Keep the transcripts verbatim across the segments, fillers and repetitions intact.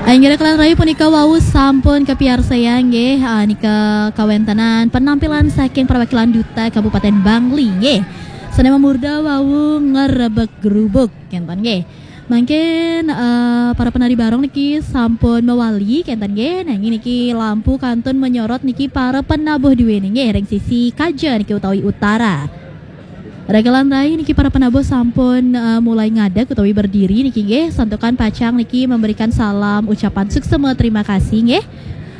Inggih rekan rai, punika wau sampun kapiarsayang nggih, ah, nika kawéntenan penampilan saking perwakilan duta Kabupaten Bangli nggih. Sané mamurda wau ngrebek grubuk kénten nggih. Mangkin, eh, para penari barong niki sampun mewali kénten nggih. Nanging niki lampu kantun menyorot niki para penabuh duwéné nggih ring sisi kaja niki utawi utara. Rekan rai, niki para penabuh sampun, eh, mulai ngadeg utawi berdiri niki nggih, santukan pacang niki memberikan salam ucapan suksema terima kasih nggih.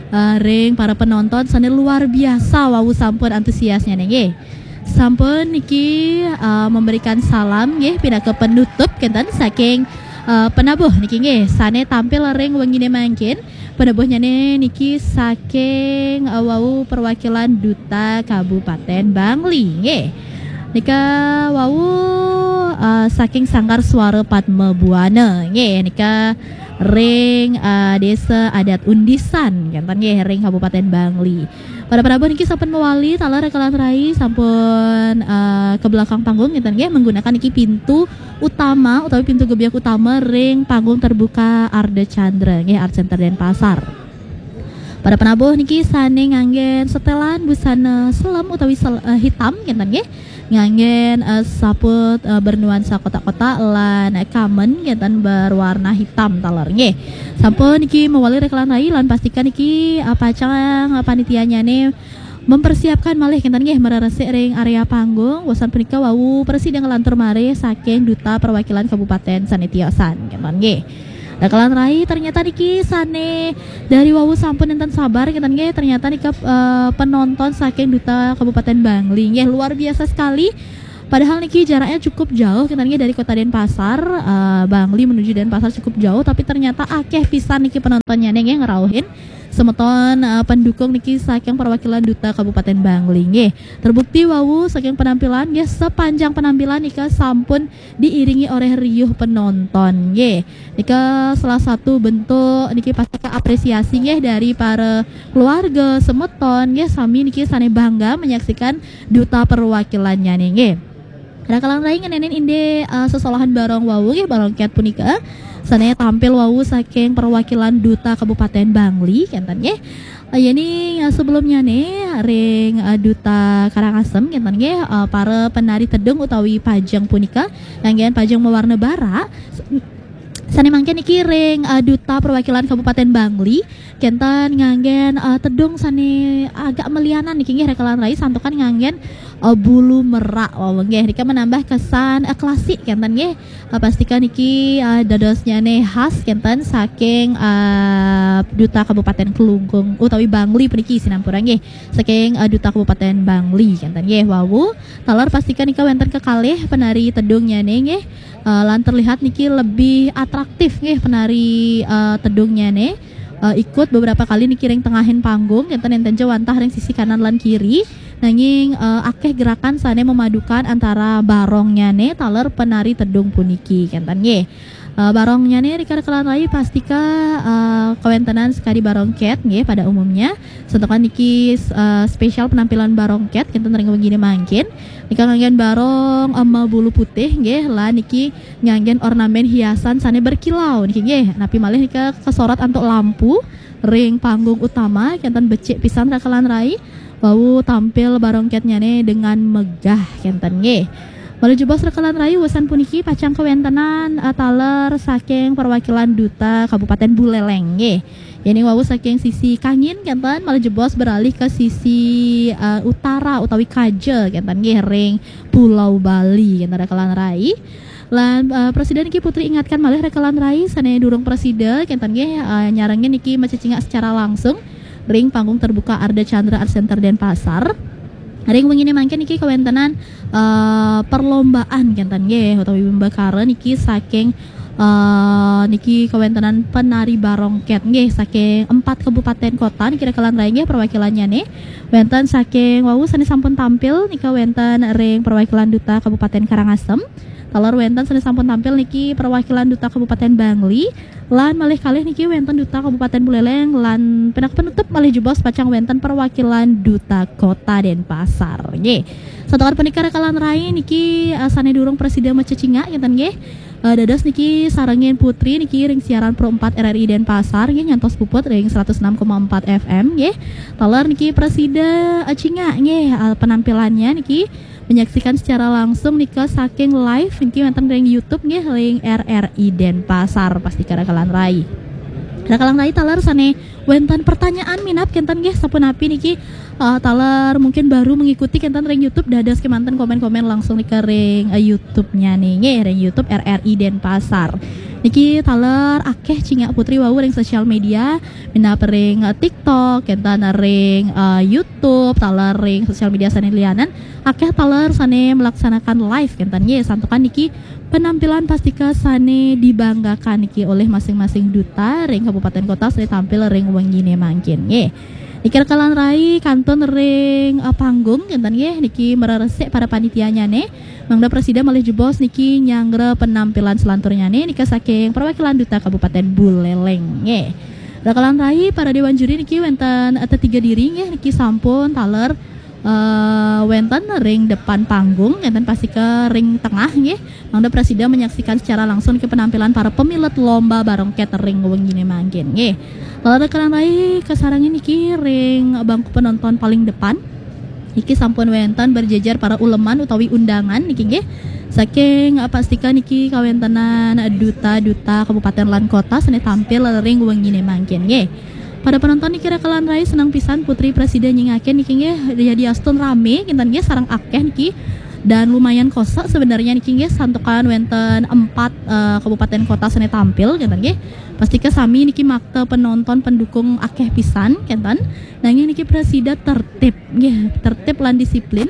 Eh, ring para penonton sané luar biasa wau sampun antusiasnya nggih. Sampun niki, eh, memberikan salam nggih pinaka penutup kénten saking, eh, penabuh niki nggih sané tampil ring wenginé mangkin. Penabuhnyané niki saking, eh, wau perwakilan duta Kabupaten Bangli nggih. Nika wau, eh, saking Sanggar Suara Padma Buana nggih. Nika ring, eh, Desa Adat Undisan kénten nggih ring Kabupaten Bangli. Para penabuh niki sampun mewali taler rekan rai sampun, eh, ke belakang panggung kénten nggih menggunakan niki pintu utama utawi pintu gebyek utama ring panggung terbuka Ardha Candra nggih, Art Center Denpasar. Para penabuh niki sané nganggén setelan busana selem utawi sel-, eh, hitam kénten nggih. Nganggén, eh, saput, eh, bernuansa kotak-kotak lan kamen kénten berwarna hitam taler nggih. Sampun niki mewali rekan rai lan pastikan niki, eh, pacang, eh, panitianyané mempersiapkan malih kénten nggih mareresik ring area panggung. Wusan punika wau prasida nglantur malih saking duta perwakilan kabupaten sané tiosan kénten nggih. Rekan rai, ternyata niki sané dari wau sampun nénten sabar kénten nggih. Ternyata nika, eh, penonton saking duta Kabupaten Bangli nggih, luar biasa sekali. Padahal niki jaraknya cukup jauh kénten nggih dari Kota Denpasar, eh, Bangli menuju Denpasar cukup jauh, tapi ternyata akéh pisan niki penontonnya nggih ngrauhin semeton, eh, pendukung niki saking perwakilan duta Kabupaten Bangli nggih. Terbukti wau saking penampilan nggih, sepanjang penampilan nika sampun diiringi oleh riuh penonton nggih. Nika salah satu bentuk niki pasti apresiasi nggih dari para keluarga semeton nggih, sami niki sané bangga menyaksikan duta perwakilannya nggih. Rekan rai, ngenénin indik, eh, sesolahan barong wau nggih, barong két punika sané tampil wau saking perwakilan duta Kabupaten Bangli kénten nggih. Eh, yéning, eh, sebelumnyané ring, eh, duta Karangasem kénten nggih, eh, para penari tedung utawi pajeng punika nganggén pajeng mawarna barak. Sané mangkin niki ring, eh, duta perwakilan Kabupaten Bangli kénten nganggén, eh, tedung sané agak melianan niki nggih rekan rai, santukan nganggén, eh, bulu merak wau nggih. Nika menambah kesan, eh, klasik kénten nggih. Eh, pastikan niki, eh, dadosnyané khas kénten saking, eh, duta Kabupaten Klungkung utawi Bangli puniki sinampura nggih. Saking, eh, duta Kabupaten Bangli kénten nggih wau. Taler pastikan nika wénten kekalih penari tedungnyané nggih. Eh, lan terlihat niki lebih atraktif nggih penari, eh, tedungnyané. Eh, ikut beberapa kali niki ring tengahin panggung, kénten nénten ja wantah ring sisi kanan lan kiri. Nanging, eh, akéh gerakan sané memadukan antara barongnyané taler penari tedung puniki kénten nggih. Eh, barongnyané rekan rai pastika, eh, kawéntenan sakadi barong két nggih pada umumnya. Santukan niki, eh, spesial penampilan barong két kénten ring wenginé mangkin. Nika nganggén barong, eh, mabulu putih nggih, lan niki nganggén ornamén hiasan sané berkilau niki nggih. Napi malih nika kasorot antuk lampu ring panggung utama, kénten becik pisan rekan rai. Wau tampil barong kétnyané dengan megah kénten nggih. Malih jebos rekan rai, wusan puniki pacang kawéntenan, eh, taler saking perwakilan duta Kabupaten Buleleng nggih. Yéning wau saking sisi kangin kénten, malih jebos beralih ke sisi, eh, utara utawi kaja kénten nggih, ring Pulau Bali kénten rekan rai. Lan, eh, prasida niki Putri ingatkan malih rekan rai sané durung prasida kénten nggih, eh, nyarengin niki macecingak secara langsung ring panggung terbuka Ardha Candra Art Center Denpasar. Ring wenginé mangkin niki kawéntenan, eh, perlombaan kénten nggih utawi wimbakara niki saking, eh, niki kawéntenan penari barong két nggih saking empat kabupaten kota niki rekan rai nggih perwakilannyané. Wénten saking wau sané sampun tampil nika wénten ring perwakilan duta Kabupaten Karangasem. Taler wénten sané sampun tampil niki perwakilan duta Kabupaten Bangli, lan malih kalih niki wénten duta Kabupaten Buleleng, lan pinaka penutup malih jebos pacang wénten perwakilan duta Kota Denpasar. Nggih. Santukan punika rekan rai niki, eh, sané durung prasida macecingak kénten nggih. Eh, dados niki sarengin Putri niki ring siaran Pro empat R R I Denpasar nggih, nyantos puput ring seratus enam koma empat F M nggih. Taler niki prasida, eh, cingak nggih, eh, penampilannya niki menyaksikan secara langsung nika saking live niki wonten ring YouTube nggih, ring R R I Denpasar, pastika rakalan rai. Rakalan rai taler sane wonten pertanyaan minab kenten nggih, sapunapi niki, eh, taler mungkin baru mengikuti kenten ring YouTube, dados kemanten komen-komen langsung nika ring, eh, YouTube-nya nih nggih, ring YouTube R R I Denpasar. Niki taler akeh cingak Putri wau ring sosial media, minab ring, eh, TikTok, kenten ring, eh, YouTube, taler ring sosial media sane lianan, akeh taler sane melaksanakan live kenten nggih, santukan niki penampilan pastika sane dibanggakan niki oleh masing-masing duta ring kabupaten kota sane tampil ring wengine mangkin nggih. Niki rakalan rai kantun ring, eh, panggung kenten nggih, niki mareresik para panitianyane. Mangda prasida malih jebos niki nyanggra penampilan selanturnyane nika saking perwakilan duta Kabupaten Buleleng nggih. Rakalan rai para dewan juri niki wonten, eh, tetiga diri nggih, niki sampun taler, eh, wonten ring depan panggung, enten pastika ring tengah nggih. Mangda prasida menyaksikan secara langsung ke penampilan para pemilet lomba barongket ring wengine mangkin nggih. Taler rakalan rai kasarengin niki ring bangku penonton paling depan. Niki sampun wonten berjejer para uleman utawi undangan niki nggih. Saking, eh, pastika niki kawentenan duta-duta kabupaten lan kota sane tampil ring wengine mangkin nggih. Para penonton niki rakalan rai seneng pisan Putri prasida nyingakin niki nggih, yadiastun rame kinten nggih, sareng akeh niki dan lumayan kosek sebenarnya niki nggih, santukan wonten empat, eh, kabupaten kota sane tampil kinten nggih. Pastika sami niki makta penonton pendukung akeh pisan kinten. Nanging niki prasida tertib nggih, tertib lan disiplin.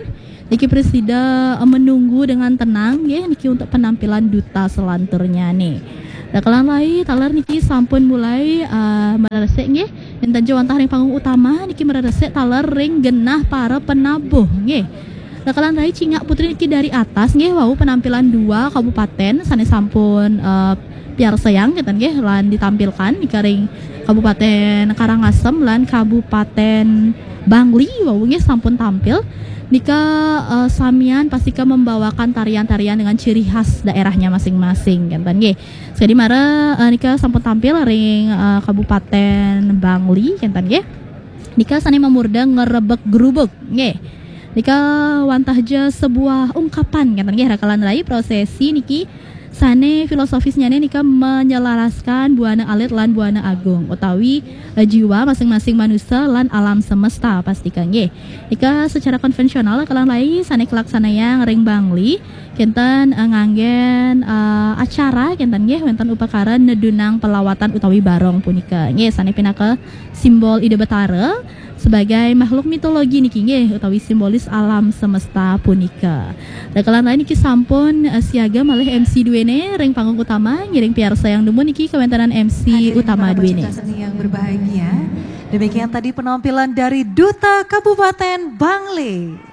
Niki prasida, eh, menunggu dengan tenang nggih niki untuk penampilan duta selanturnya nih. Rakalan rai taler niki sampun mulai, eh, mareresik nggih. Enten ja wantah ring panggung utama niki mareresik taler ring genah para penabuh nggih. Rakalan rai cingak Putri niki dari atas nggih, wau penampilan dua kabupaten sane sampun, eh, piarsayang kenten nggih lan ditampilkan nika ring Kabupaten Karangasem lan Kabupaten Bangli wau nggih sampun tampil. Nika, eh, samian pastika membawakan tarian-tarian dengan ciri khas daerahnya masing-masing kenten nggih. Sakadi mara, eh, nika sampun tampil ring, eh, Kabupaten Bangli kenten nggih. Nika sane mamurda ngerebek gerubuk nggih. Nika wantah ja sebuah ungkapan kenten nggih, rakalan rai, prosesi niki sane filosofisnyane nika menyelaraskan buana alit lan buana agung utawi, eh, jiwa masing-masing manusia lan alam semesta pastika nggih. Nika secara konvensional rakalan rai sane kalaksanayang ring Bangli kenten, eh, nganggen, eh, acara kenten nggih, wenten upakara nedunang pelawatan utawi barong punika nggih, sane pinaka simbol Ida Betara sebagai makhluk mitologi niki nggih, utawi simbolis alam semesta punika. Rakalan rai niki sampun, eh, siaga malih M C duene ring panggung utama, ngiring piarsayang dumun niki kawentenan M C utama duene. Hadirin para pecinta seni yang berbahagia, demikian tadi penampilan dari Duta Kabupaten Bangli.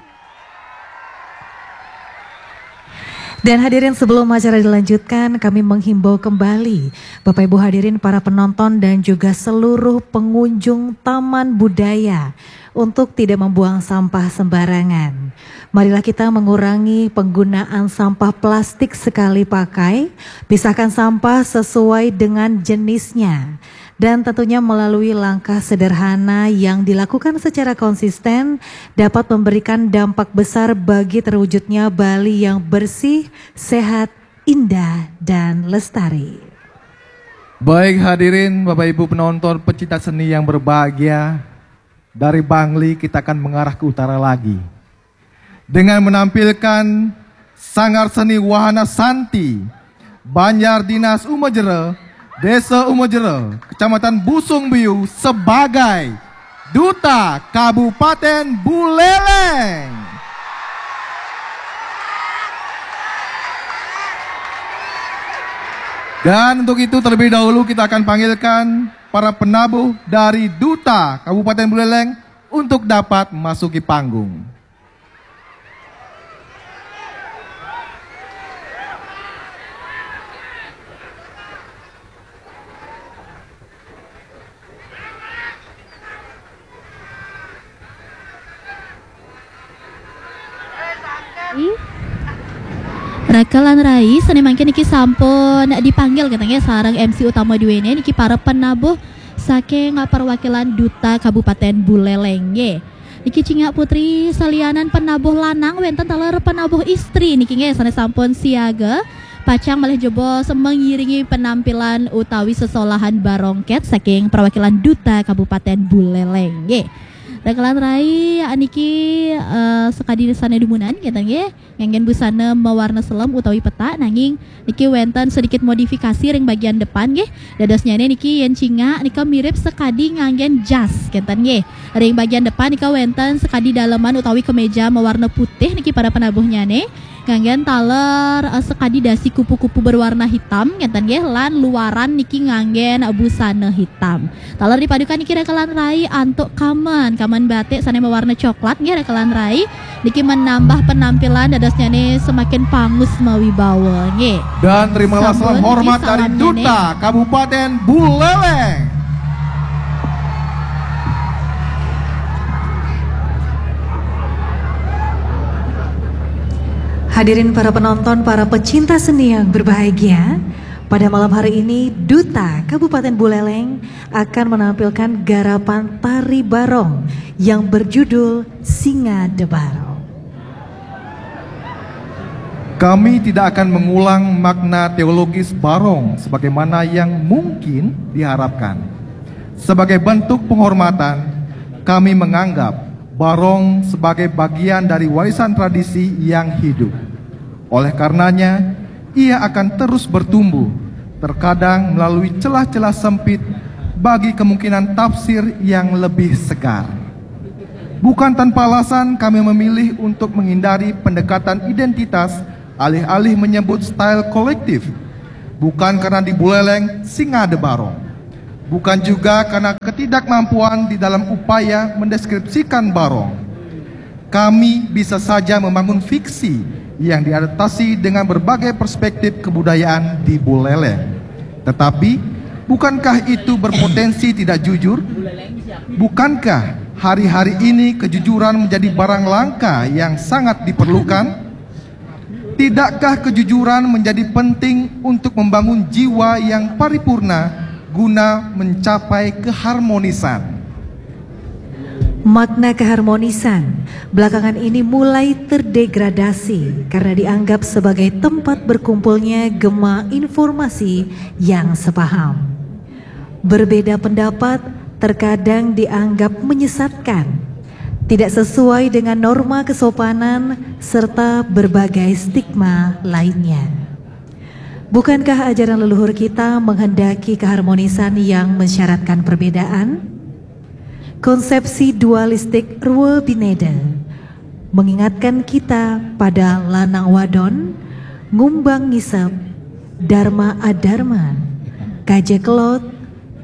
Dan hadirin, sebelum acara dilanjutkan, kami menghimbau kembali Bapak Ibu hadirin, para penonton dan juga seluruh pengunjung Taman Budaya untuk tidak membuang sampah sembarangan. Marilah kita mengurangi penggunaan sampah plastik sekali pakai, pisahkan sampah sesuai dengan jenisnya. Dan tentunya melalui langkah sederhana yang dilakukan secara konsisten dapat memberikan dampak besar bagi terwujudnya Bali yang bersih, sehat, indah, dan lestari. Baik hadirin, Bapak Ibu penonton, pecinta seni yang berbahagia, dari Bangli kita akan mengarah ke utara lagi dengan menampilkan Sanggar Seni Wahana Santi Banjar Dinas Umajera, Desa Umajera, Kecamatan Busung Biu sebagai Duta Kabupaten Buleleng. Dan untuk itu, terlebih dahulu kita akan panggilkan para penabuh dari Duta Kabupaten Buleleng untuk dapat memasuki panggung. Rakelan rai, sané mangkin niki sampun dipanggil kénten nggih sareng M C utama duéné niki para penabuh saking perwakilan Duta Kabupaten Buleleng nggih. Niki cingak putri salianan penabuh lanang wénten taler penabuh istri niki nggih sané sampun siaga pacang malih jebos mengiringi penampilan utawi sesolahan barongkét saking perwakilan Duta Kabupaten Buleleng nggih. Rakelan rai niki eh, sakadi sané dumunan kénten nggih. Nganggén busana mawarna selem utawi petak, nanging niki wénten sedikit modifikasi ring bagian depan nggih. Dadosnyané niki yén cingak nika mirip sakadi nganggén jas kénten nggih. Ring bagian depan nika wénten sakadi daleman utawi kemeja mawarna putih niki para penabuhnyané. Nganggén taler eh, sakadi dasi kupu-kupu berwarna hitam kénten nggih, lan luaran niki nganggén busana hitam. Taler dipadukan niki rakelan rai antuk kamen, kamen batik sané mawarna coklat nggih rakelan rai. Niki menambah penampilan dadosnyané semakin pangus mawibawa nggih. Dan terimalah salam hormat dari Duta Kabupaten Buleleng. Hadirin para penonton, para pecinta seni yang berbahagia, pada malam hari ini Duta Kabupaten Buleleng akan menampilkan garapan tari barong yang berjudul Singa Debarong. Kami tidak akan mengulang makna teologis barong sebagaimana yang mungkin diharapkan. Sebagai bentuk penghormatan, kami menganggap barong sebagai bagian dari warisan tradisi yang hidup. Oleh karenanya, ia akan terus bertumbuh, terkadang melalui celah-celah sempit bagi kemungkinan tafsir yang lebih segar. Bukan tanpa alasan kami memilih untuk menghindari pendekatan identitas alih-alih menyebut style kolektif. Bukan karena di Buleleng singa ada barong. Bukan juga karena ketidakmampuan di dalam upaya mendeskripsikan barong. Kami bisa saja membangun fiksi yang diadaptasi dengan berbagai perspektif kebudayaan di Buleleng. Tetapi, bukankah itu berpotensi tidak jujur? Bukankah hari-hari ini kejujuran menjadi barang langka yang sangat diperlukan? Tidakkah kejujuran menjadi penting untuk membangun jiwa yang paripurna guna mencapai keharmonisan? Makna keharmonisan belakangan ini mulai terdegradasi karena dianggap sebagai tempat berkumpulnya gema informasi yang sepaham. Berbeda pendapat terkadang dianggap menyesatkan, tidak sesuai dengan norma kesopanan, serta berbagai stigma lainnya. Bukankah ajaran leluhur kita menghendaki keharmonisan yang mensyaratkan perbedaan? Konsepsi dualistik Rua Bineda mengingatkan kita pada lanang wadon, ngumbang ngisep, dharma adharma, kaja kelot,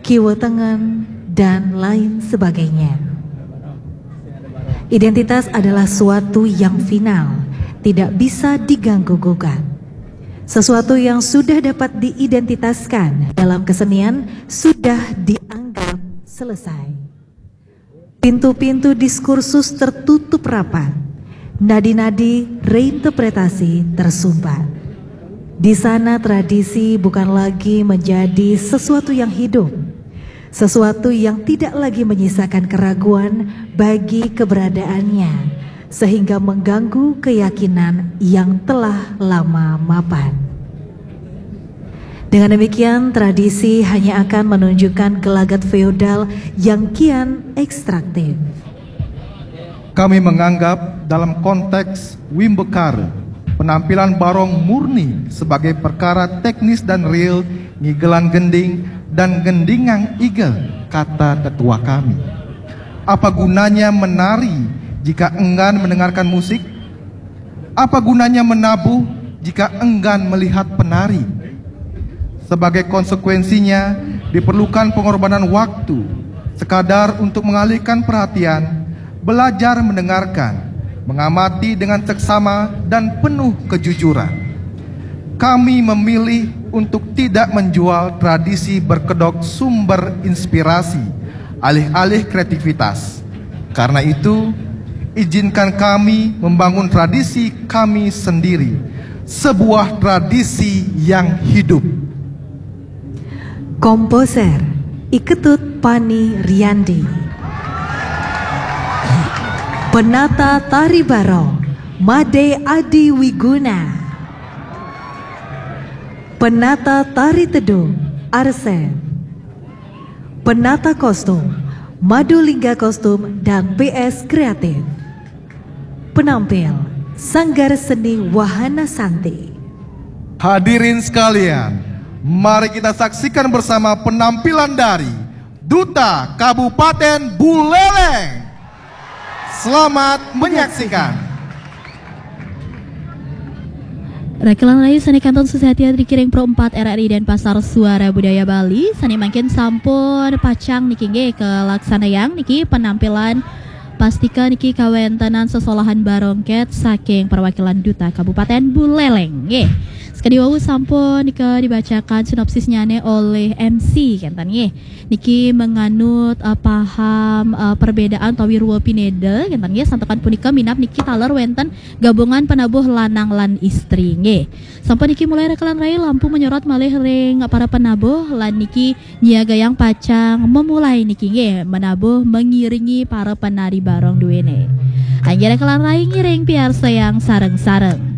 kiwa tengen, dan lain sebagainya. Identitas adalah suatu yang final, tidak bisa diganggu gugat. Sesuatu yang sudah dapat diidentitaskan dalam kesenian sudah dianggap selesai. Pintu-pintu diskursus tertutup rapat, nadi-nadi reinterpretasi tersumbat. Di sana tradisi bukan lagi menjadi sesuatu yang hidup, sesuatu yang tidak lagi menyisakan keraguan bagi keberadaannya, sehingga mengganggu keyakinan yang telah lama mapan. Dengan demikian, tradisi hanya akan menunjukkan gelagat feodal yang kian ekstraktif. Kami menganggap dalam konteks Wimbekara, penampilan barong murni sebagai perkara teknis dan real ngigelan gending dan gendingang igel, kata tetua kami. Apa gunanya menari jika enggan mendengarkan musik? Apa gunanya menabuh jika enggan melihat penari? Sebagai konsekuensinya, diperlukan pengorbanan waktu, sekadar untuk mengalihkan perhatian, belajar mendengarkan, mengamati dengan seksama dan penuh kejujuran. Kami memilih untuk tidak menjual tradisi berkedok sumber inspirasi, alih-alih kreativitas. Karena itu, izinkan kami membangun tradisi kami sendiri, Sebuah tradisi yang hidup. Komposer I Ketut Pani Riandi. Penata tari barong Made Adi Wiguna. Penata tari tedung Arsen. Penata kostum Madulingga Kostum dan P S Kreatif. Penampil Sanggar Seni Wahana Santi. Hadirin sekalian, mari kita saksikan bersama penampilan dari Duta Kabupaten Buleleng. Selamat menyaksikan. Rakelan rayu sane kantun sesehati dikiring Pro empat R R I Denpasar Suara Budaya Bali, sane mangkin sampun pacang niki nggih kalaksanayang niki penampilan pastika niki kawentenan sesolahan barongket saking perwakilan Duta Kabupaten Buleleng nggih. Sekadi wau sampun nika dibacakan sinopsisnyane oleh M C kenten nggih. Niki menganut uh, paham uh, perbedaan utawi ruwa pineda kenten nggih, santukan punika minab niki taler wenten gabungan penabuh lanang lan istri nggih. Sampun niki mulai rakelan rayu lampu menyorot malih ring para penabuh lan niki nyiagayang pacang memulai niki nggih menabuh mengiringi para penari barong duene. Inggih rakelan rayu ngiring piarsayang sareng-sareng.